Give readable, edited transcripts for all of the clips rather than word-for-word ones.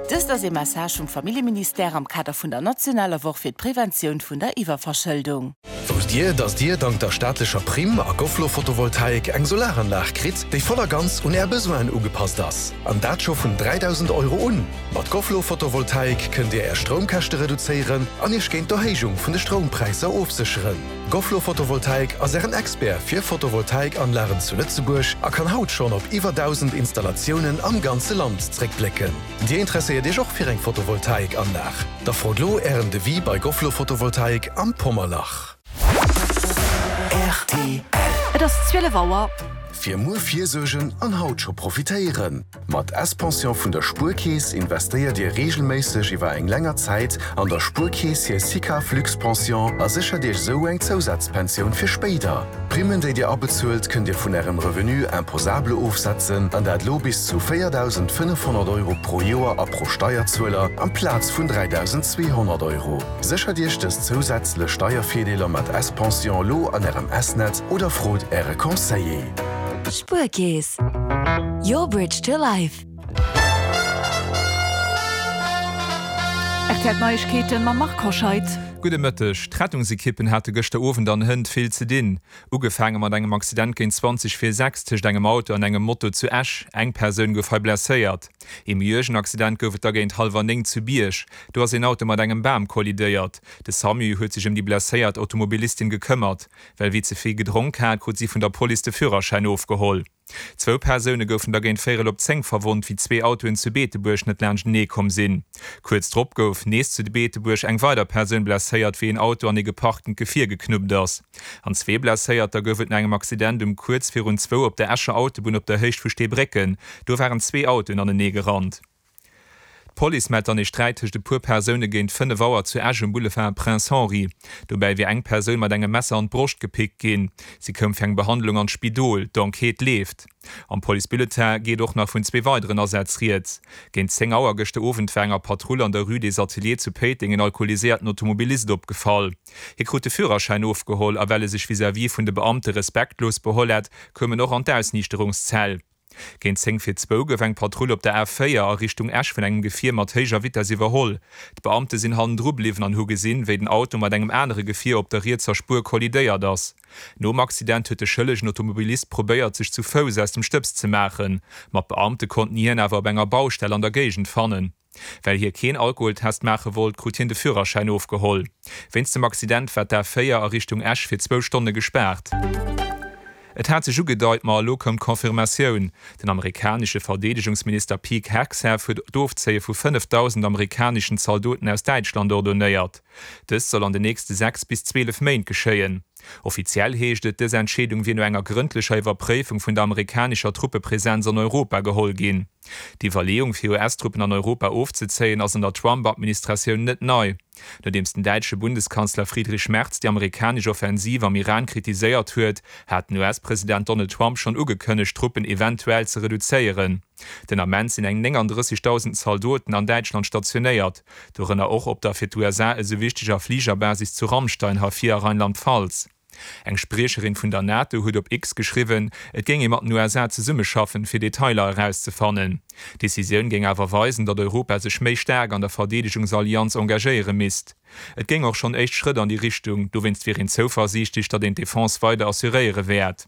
Dëst ass ee Message vum Familljeministère am Kader vun der nationaler Woch fir d'Preventioun vun der Iwwerverschëldung. Wousst Dir, dass Dir dank der staatlecher Primm a Gofflo Photovoltaik eng Solaranlag kritt, déi voll a ganz un Är Besoinen ugepasst ass? An dat scho vun 3.000 Euro un! Mat Gofflo Photovoltaik kënnt Dir Är Stroumkäschte reduzéieren an Iech géint d'Erhéijung vun de Stroumpräisser ofsécheren. Gofflo Photovoltaik ass Ären Expert fir Photovoltaikanlagen zu Lëtzebuerg a kann haut schonn op iwwer 1.000 Installatiounen am ganze Land zréckblécken. Dir interesséiert Iech och fir eng Photovoltaikanlag? Da frot lo Ären Devis bei Gofflo Photovoltaik am Pommerlach. Rtl. Et ass 12 Auer. Fir muer virsuergen an haut scho profitéieren! Mat S-Pension vun der Spuerkeess investéiert Dir reegelméisseg iwwer eng länger Zäit an der Spuerkeess hir SICAV Luxe-Pension a séchert Iech esou eng Zousazpensioun fir spéider. D'Primmen, déi Dir abezuelt, kënnt Dir vun Ärem Revenu imposable ofsetzen, an dat lo bis zu 4.500 Euro pro Joer a pro Steierzueler, amplaz vun 3.200 Euro. Séchert Iech dës zousätzlech Steiervirdeeler mat S-Pension lo an Ärem S-Netz oder frot Äre Conseiller. Spuerkeess, your bridge to life. Rtl Neiegkeeten mam Marc Hoscheid. Gudde Mëtteg. D'Rettungsekippen hate gëschter Owend an hënt vill ze dinn. Ugefaange mat engem Accident géint 20 vir 6 tëscht engem Auto an engem Moto zu Esch. Eng Persoun gouf hei blesséiert. Ee méi uergen Accident gouf et da géint hallwer 9 zu Bierg. Do ass een Auto mat engem Bam kollidéiert. De Samu huet sech ëm déi blesséiert Automobilistin gekëmmert. Well wie ze vill gedronk hat, krut si vun der Police de Führerschäin ofgeholl. Zwou Persoune goufen da géint véierel op 10 verwonnt, wéi zwee Autoen zu Beetebuerg net laanschtenee komm sinn. Kuerz drop gouf nees zu Beetebuerg eng weider Persoun blesséiert, wéi een Auto an ee geparktent Gefier geknuppt ass. An zwee Blesséierter gouf et no engem Accident um kuerz virun zwou op der Escher Autobunn op der Héicht vu Steebrécken. Do waren zwee Autoen anenee gerannt. D'Police mellt dann ee Sträit tëscht e puer Persoune géint 5 Auer zu Esch um Boulevard Prince Henri. Dobäi wier eng Persoun mat engem Messer an d'Broscht gepickt ginn. Si koum fir eng Behandlung an d'Spidol. D'Enquête leeft. Am Policebulletin geet och nach vun zwee weideren Asätz rieds. Géint 10 Auer gëschter Owend war enger Patrull an der Rue des Ateliers zu Péiteng en alkoholiséierten Automobilist opgefall. Hie krut de Führerschäin ofgeholl a well e sech vis-à-vis vun de Beamte respektlos beholl hätt, koum en och an d'Ausniichterungszell. Géint 10 vir zwou gouf eng Patrull op der A 4 a Richtung Esch vun engem Gefier mat héijer Vitess iwwerholl. D'Beamte sinn hannendru bliwwen an hu gesinn, wéi den Auto mat engem anere Gefier op der rietser Spuer kollidéiert ass. Nom Accident huet de schëllegen Automobilist probéiert, sech zu Fouss aus dem Stëbs ze maachen, ma d'Beamte konnten hien awer op enger Baustell an der Géigend fannen. Well hie keen Alkoholtest maache wollt, krut hien de Führerschäin ofgeholl. Wéinst dem Accident war d'A4 a Richtung Esch fir zwou Stonne gespaart. Et hat sech ugedeit, ma elo koum d'Confirmatioun, Den amerikanesche Verdeedegungsminister Pete Hegseth huet d'Ofzéie vu 5.000 amerikaneschen Zaldoten aus Däitschland ordonéiert. Dëst soll an de nächste 6 bis 12 Méint geschéien. Offiziell heescht et, dës Entscheedung wier no enger grëndlecher Iwwerpréifung vun der amerikanescher Truppepresenz an Europa geholl ginn. D'Iwwerleeung, fir US-Truppen an Europa ofzezéien, ass an der Trump-Administratioun net nei. Nodeems den däitsche Bundeskanzler Friedrich Merz déi amerikanesch Offensiv am Iran kritiséiert huet, hat den US-President Donald Trump schonn ugekënnegt, d'Truppen eventuell ze reduzéieren. Den Ament sinn eng 39.000 Zaldoten an Däitschland stationéiert, dorënner och op der fir d'USA esou wichteger Fligerbasis zu Ramstein, Hafir a Rheinland-Pfalz. Eng Spriecherin vun der NATO huet op X geschriwwen, et géing ee mat den USA zesummeschaffen, fir Detailer erauszefannen. D'Decisioun géing awer weisen, datt Europa sech méi staark an der Verdeedegungsallianz engagéiere misst. Et géing och schonn éischt Schrëtt an déi Richtung, dowéinst wier een zouversiichtlech, datt een d'Defense weider assuréiere wäert.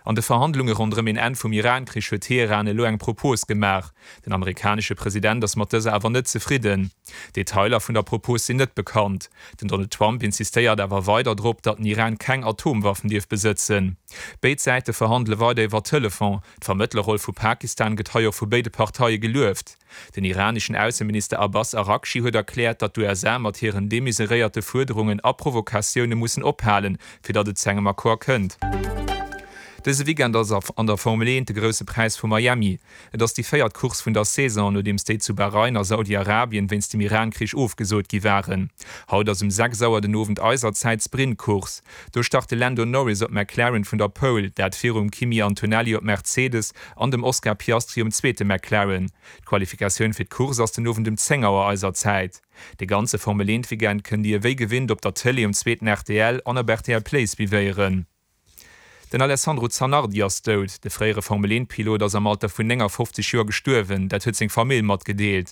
An de Verhandlunge ronderëm een Enn vum Iran-Krich huet Teheran elo eng Propos gemaach. Den amerikanesche President ass mat dëser awer net zefridden. Detailer vun der Propos sinn net bekannt. Den Donald Trump insistéiert awer weider drop, datt den Iran keng Atomwaffen dierf besëtzen. Béid Säite verhandele weider iwwer Telefon. D'Vermëttlerroll vu Pakistan gëtt hei och vu béide Parteie gelueft. Den iraneschen Ausseminister Abbas Araghchi huet erkläert, datt d'USA mat hiren demesuréierte Fuerderungen a Provokatioune mussen ophalen, fir datt et zu engem Accord kënnt. Dëse Weekend ass an der Formel 1 de Grousse Präis vu Miami. Et ass déi véiert Course vun der Saison, nodeems déi zu Bahrain a Saudi-Arabien wéinst dem Iran-Krich ofgesot gi waren. Haut ass um 6 Auer den Owend eiser Zäit d'Sprint-Course. Do start de Lando Norris op McLaren vun der Pole, dat virum Kimi Antonelli op Mercedes an dem Oscar Piastri um zweete McLaren. D'Qualifikatioun fir d'Course ass den Owend um 10 Auer eiser Zäit. De ganze Formel 1 Weekend kënnt Dir wéi gewinnt op der Tëlee um zweeten rtl an op rtl Play suivéieren. Den Alessandro Zanardi ass dout. De fréiere Formel 1 Pilot ass am Alter vun 59 Joer gestuerwen, dat huet seng Famill matgedeelt.